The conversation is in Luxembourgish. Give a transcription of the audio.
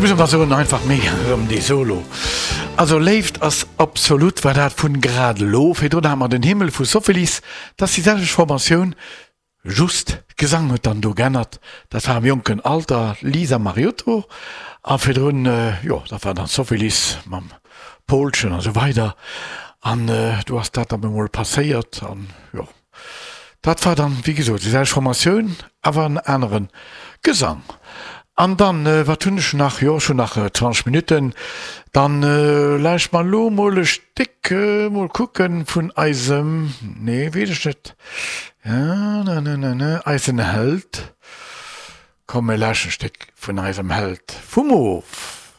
muss awer soen, einfach mega erëm dee Solo. Also Léift ass absolut war dat vun grad elo. Virdrun hate mer den Himmel vu Sophilis, dat ass déi selwecht Formatioun, just Gesang huet dann do geännert. Dat war am jonken Alter Lisa Mariotto a virdrun, jo dat war dann Sophilis mam Polchen a sou weider an do ass dat dann emol passéiert an jo. Dat war dann, wéi gesot, déi selwecht Formatioun, awer en anere Gesang. An dann, wat hunn ech nach? Jo, ech hunn nach 20 Minutten. Dann lauscht mer elo mol e Stéck, mol kucken, vun eisem, nee, weess ech net, eisen Held. Komm, mir lauschten e Stéck vun eisem Held vum Of.